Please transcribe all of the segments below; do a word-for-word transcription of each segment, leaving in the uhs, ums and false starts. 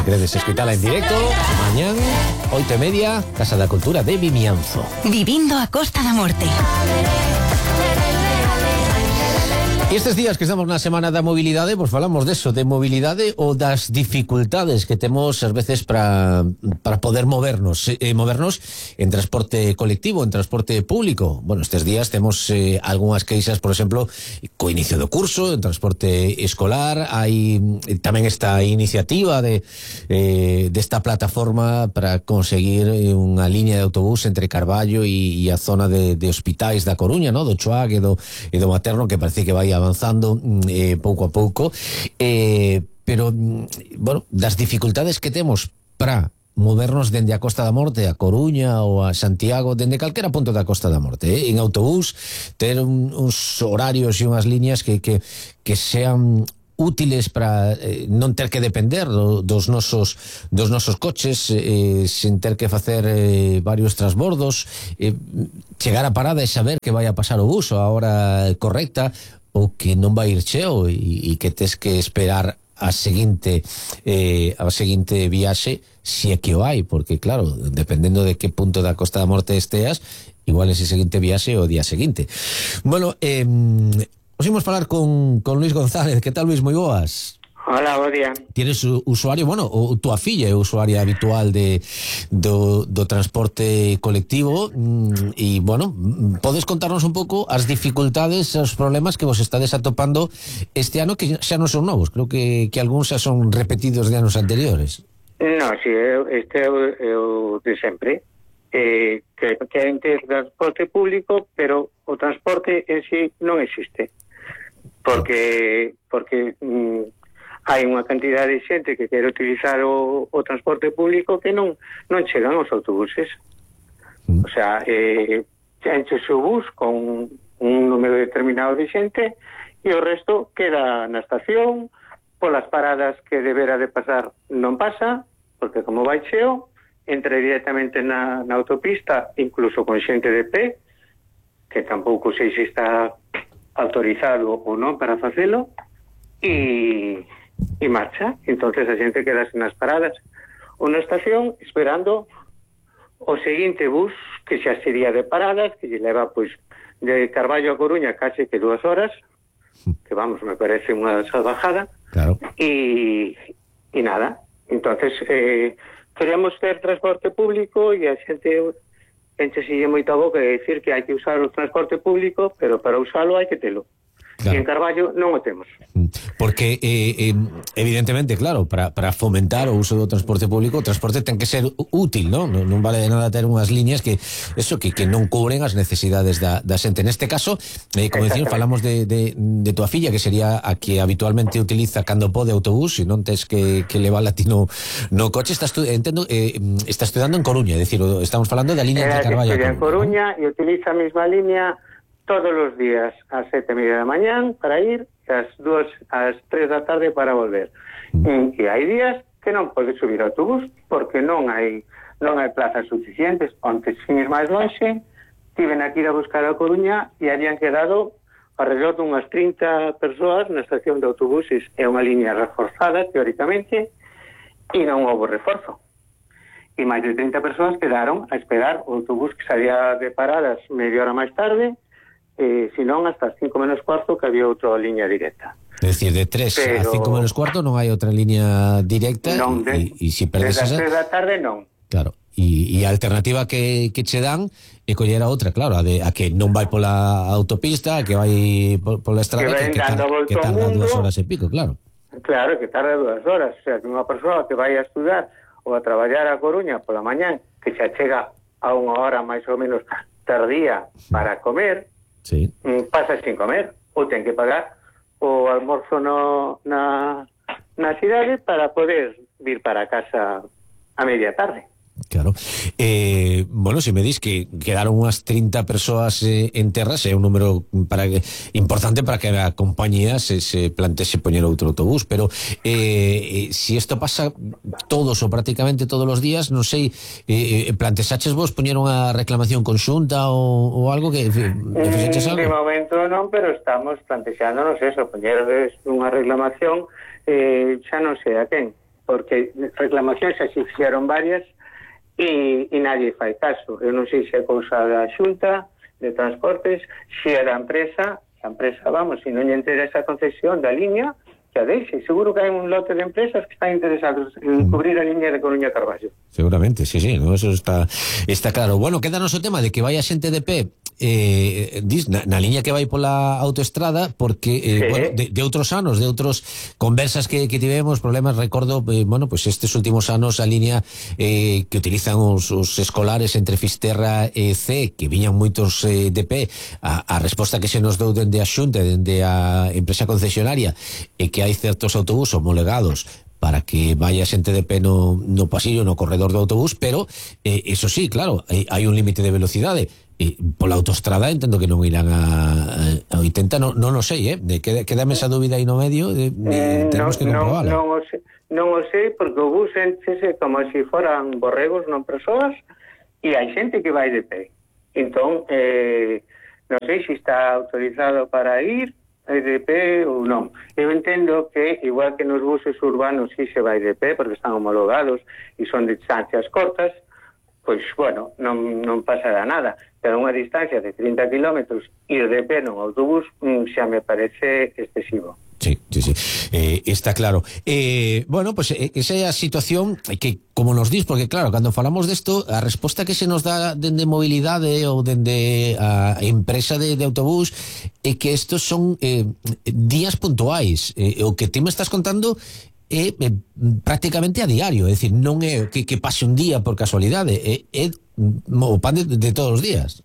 queredes escuitala en directo, mañán, oito e media, Casa da Cultura de Vimianzo. Vivindo a Costa da Morte. E estes días que estamos na Semana da Mobilidade, pois falamos deso, de mobilidade ou das dificultades que temos ás veces para para poder movernos, eh, movernos en transporte colectivo, en transporte público. Bueno, estes días temos eh, algunhas queixas, por exemplo, co inicio do curso, en transporte escolar, hai tamén esta iniciativa de eh, desta plataforma para conseguir unha liña de autobús entre Carballo e, e a zona de, de hospitais da Coruña, no? do Choague e do, e do Materno, que parece que vai avanzando eh, pouco a pouco, eh, pero, bueno, das dificultades que temos para movernos dende a Costa da Morte a Coruña ou a Santiago, dende calquera punto da Costa da Morte, eh, en autobús, ter un, uns horarios e unhas líneas que, que, que sean útiles para eh, non ter que depender do, dos nosos dos nosos coches, eh, sin ter que facer eh, varios transbordos, eh, chegar a parada e saber que vai a pasar o bus a hora correcta, ou que non vai ir cheo e, e que tes que esperar a seguinte eh, a seguinte viaxe, se é que o hai, porque claro, dependendo de que punto da Costa da Morte esteas, igual ese seguinte viaxe o día seguinte. Bueno, eh, os imos falar con, con Luis González. Que tal, Luis? Moi boas. Hola, bo día. Tienes usuario, bueno, o tua filla é usuaria habitual de do, do transporte colectivo e, bueno, podes contarnos un pouco as dificultades, os problemas que vos estades atopando este ano, que xa non son novos, creo que, que algúns xa son repetidos de anos anteriores. No, si, este é o de sempre, eh, que queren ter transporte público, pero o transporte en sí non existe, porque porque mm, hai unha cantidade de xente que quere utilizar o, o transporte público que non non chegan os autobuses. Mm. O sea, eh, enche o bus con un número determinado de xente e o resto queda na estación, polas paradas que debera de pasar non pasa, porque como vai cheo, entra directamente na, na autopista, incluso con xente de pé, que tampouco sei se está autorizado ou non para facelo, e e marcha. Entonces a xente quedase nas paradas ou na estación esperando o seguinte bus, que xa sería de paradas, que lle leva pois de Carballo a Coruña case que dúas horas, que vamos, me parece unha salvajada. Claro. E e nada, entonces eh, queremos ter transporte público e a xente enchesille moita boca de decir que hai que usar o transporte público, pero para usalo hai que telo. Claro. E en Carballo non o temos. Porque, eh, eh, evidentemente, claro, para, para fomentar o uso do transporte público, o transporte ten que ser útil, non? Non, non vale de nada ter unhas liñas que eso que, que non cubren as necesidades da, da xente. Neste caso, eh, como decían, falamos de, de, de tua filla, que sería a que habitualmente utiliza cando pode autobús, e non tes que, que levala a ti no, no coche. Está, estu entendo, eh, está estudando en Coruña, é dicir, estamos falando da liña de Carballo a Coruña, en Coruña, ¿no? E utiliza a mesma liña todos os días ás sete e media da mañán para ir, e ás dúas, ás tres da tarde para volver. Mm. E hai días que non pode subir ao autobús porque non hai non hai plazas suficientes. Onte, sin ir máis longe, tiven aquí a buscar a Coruña e habían quedado alrededor de unhas trinta persoas na estación de autobuses. É unha liña reforzada, teóricamente, e non houve reforzo. E máis de trinta persoas quedaron a esperar o autobús que salía de paradas media hora máis tarde, eh, senón hasta as cinco menos cuarto, que había outra liña directa. É dicir, de tres Pero... a cinco menos cuarto non hai outra liña directa, non, e, e, e si perdes desde esa... as tres da tarde non. Claro, e, e a alternativa que, que che dan é coller a outra, claro, a, de, a que non vai pola autopista, a que vai pola estrada, que, que, que, tar, que tarda dúas horas e pico, claro. Claro, que tarda dúas horas. O sea, que unha persoa que vai a estudar ou a traballar a Coruña pola mañán, que xa chega a unha hora máis ou menos tardía para comer, sí. Pasa sin comer, ou ten que pagar o almorzo no, na, na cidade para poder vir para casa a media tarde. Claro. Eh, bueno, se me dis que quedaron unhas trinta persoas eh, en terras, é un número para importante para que a compañía se, se planteese poñer outro autobús, pero eh, eh, si isto pasa todos ou prácticamente todos os días, non sei, eh, plantesaches vos poñer unha reclamación conxunta ou, ou algo que, que fixeches algo? De momento non, pero estamos plantexándonos eso, poñer unha reclamación, eh, xa non sei a quen. porque reclamacións xa se fixeron varias e, e nadie fai caso. Eu non sei se é cousa da Xunta de Transportes, se é da empresa, a empresa, vamos, se non lle interesa a concesión da liña, que a deixe. Seguro que hai un lote de empresas que están interesados en cubrir a liña de Coruña a Carballo. Seguramente, sí, sí, no, eso está está claro. Bueno, quédanos o tema de que vaya xente de pé eh, dis, na, na liña que vai pola autoestrada, porque eh, sí. bueno, de, de outros anos, de outros conversas que, que tivemos, problemas, recordo, eh, bueno, pues estes últimos anos a liña eh, que utilizan os, os escolares entre Fisterra e C, que viñan moitos eh, de pé, a, a resposta que se nos dou dende a Xunta, dende a empresa concesionaria, e que hai certos autobús homologados para que vaya xente de pé no, no pasillo, no corredor do autobús, pero eh, eso sí, claro, hai, hai un límite de velocidade. E pola autoestrada entendo que non irán a, a oitenta, non, non o sei, eh? De, queda, quedame esa dúbida aí no medio, de, de, tenemos no, que comprobarla. Non, non, o sei, non o sei, porque o bus enchese como se si foran borregos, non persoas, e hai xente que vai de pé. Entón, eh, non sei se está autorizado para ir de pé ou non. Eu entendo que, igual que nos buses urbanos si se vai de pé, porque están homologados e son de distancias cortas, pois, bueno, non, non pasará nada. Pero unha distancia de trinta kilómetros ir de pé nun autobús xa me parece excesivo. Sí, sí, sí, eh, está claro. Eh, bueno, pues eh, esa é a situación que, como nos dis, porque claro, cando falamos desto, a resposta que se nos dá dende mobilidade ou dende a empresa de, de autobús é que estos son eh, días puntuais. Eh, o que ti me estás contando é eh, prácticamente a diario, é dicir, non é que, que pase un día por casualidade, é, é o pan de, de todos os días.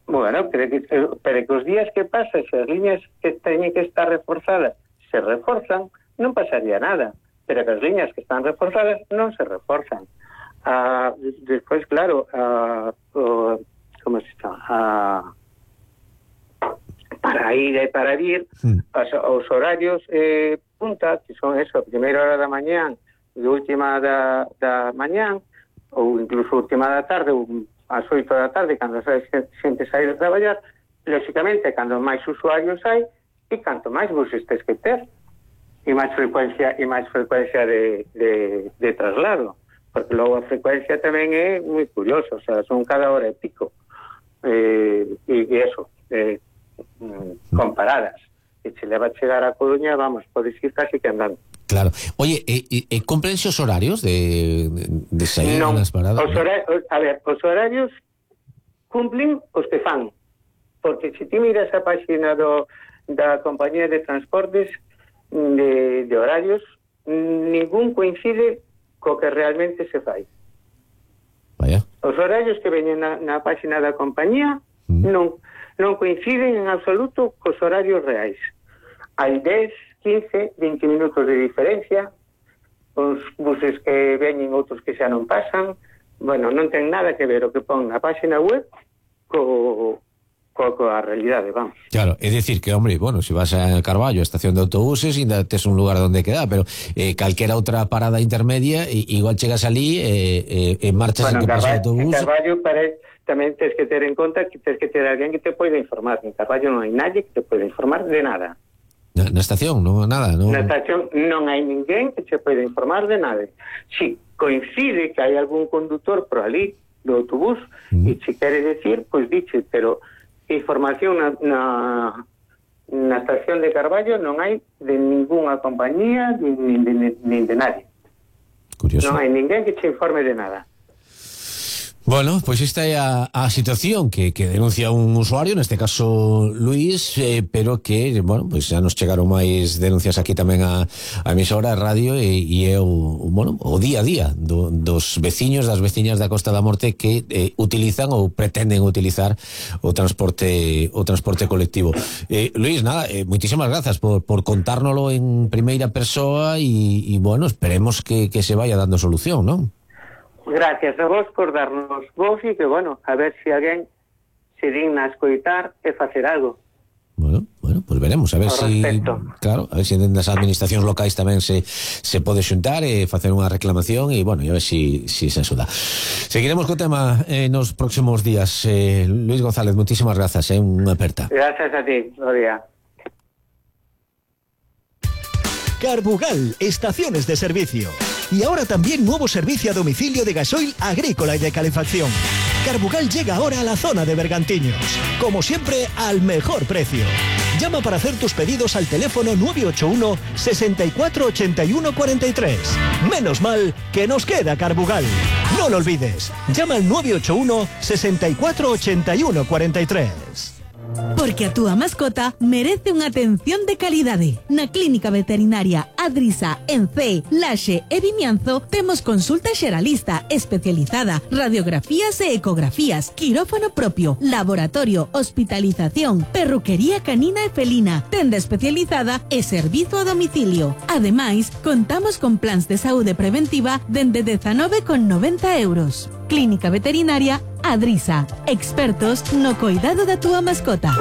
Bueno, pero que, pero que os días que pasan, se as liñas que teñen que estar reforzadas se reforzan, non pasaría nada, pero que as liñas que están reforzadas non se reforzan. Ah, despois, claro, ah, oh, como se chama? Ah, para ir e para vir, mm. os, os horarios eh, punta, que son eso, primeira hora da mañán e última da, da mañán, ou incluso última da tarde, ou ás oito da tarde, cando a xente sai de traballar, lógicamente, cando máis usuarios hai, e canto máis buses tes que ter, e máis frecuencia e máis frecuencia de, de, de traslado, porque logo a frecuencia tamén é moi curiosa, o sea, son cada hora e pico, eh, e, e eso, eh, comparadas, e se leva a chegar a Coruña, vamos, podes ir casi que andando. Claro. Oye, e, e, e cumplense os horarios de, de, de sair non, nas paradas? Os horarios, a ver, os horarios cumplen os que fan, porque se ti miras a página do da compañía de transportes de, de horarios, ningún coincide co que realmente se fai. Vaya. Os horarios que veñen na, na página da compañía mm. non, non coinciden en absoluto cos horarios reais. Hai dez, quince, vinte minutos de diferencia, os buses que veñen, outros que xa non pasan. Bueno, non ten nada que ver o que pon na página web co co a realidade, vamos. Claro, é dicir que, hombre, bueno, se vas a Carballo, a estación de autobuses, ainda tes un lugar onde quedar, pero eh, calquera outra parada intermedia, e, igual chegas ali e eh, eh, marchas bueno, en que pasa o autobús. En Carballo pare, tamén tens que ter en conta que tens que ter alguén que te poida informar. En Carballo non hai nadie que te poida informar de nada. Na, na estación, non nada, non. Na estación non hai ninguén que te poida informar de nada. Si coincide que hai algún condutor por ali do autobús, mm. e se quere decir, pois diche, pero información na, na, na estación de Carballo non hai de ningunha compañía nin de, nin de nadie. Curioso. Non hai ninguén que te informe de nada. Bueno, pois pues esta é a, a situación que, que denuncia un usuario, neste caso Luís, eh, pero que, bueno, pois pues xa nos chegaron máis denuncias aquí tamén a, a emisora, a radio, e, e é o, bueno, o día a día do, dos veciños, das veciñas da Costa da Morte que eh, utilizan ou pretenden utilizar o transporte o transporte colectivo. Eh, Luís, nada, eh, moitísimas grazas por, por contárnolo en primeira persoa e, e bueno, esperemos que, que se vaya dando solución, non? Gracias a vos por darnos voz e que, bueno, a ver se alguén se digna a escoitar e facer algo. Bueno, bueno, pues veremos, a ver se si, claro, a ver se si das administracións locais tamén se se pode xuntar e facer unha reclamación e, bueno, e a ver se si, si se axuda. Seguiremos co tema eh, nos próximos días. Eh, Luís González, moitísimas grazas, eh, unha aperta. Gracias a ti, bo día. Carbugal, estaciones de servicio. Y ahora también nuevo servicio a domicilio de gasoil agrícola y de calefacción. Carbugal llega ahora a la zona de Bergantiños. Como siempre, al mejor precio. Llama para hacer tus pedidos al teléfono nueve ocho uno, sesenta y cuatro, ochenta y uno, cuarenta y tres. Menos mal que nos queda Carbugal. No lo olvides. Llama al nueve ocho uno, sesenta y cuatro, ochenta y uno, cuarenta y tres. Porque a túa mascota merece unha atención de calidade. Na Clínica Veterinaria Adrisa, en Cee, Laxe e Vimianzo temos consulta xeralista especializada, radiografías e ecografías, quirófano propio, laboratorio, hospitalización, perruquería canina e felina, tenda especializada e servizo a domicilio. Ademais, contamos con plans de saúde preventiva dende dezanove con noventa euros. Clínica Veterinaria Adrisa, expertos no cuidado da túa mascota.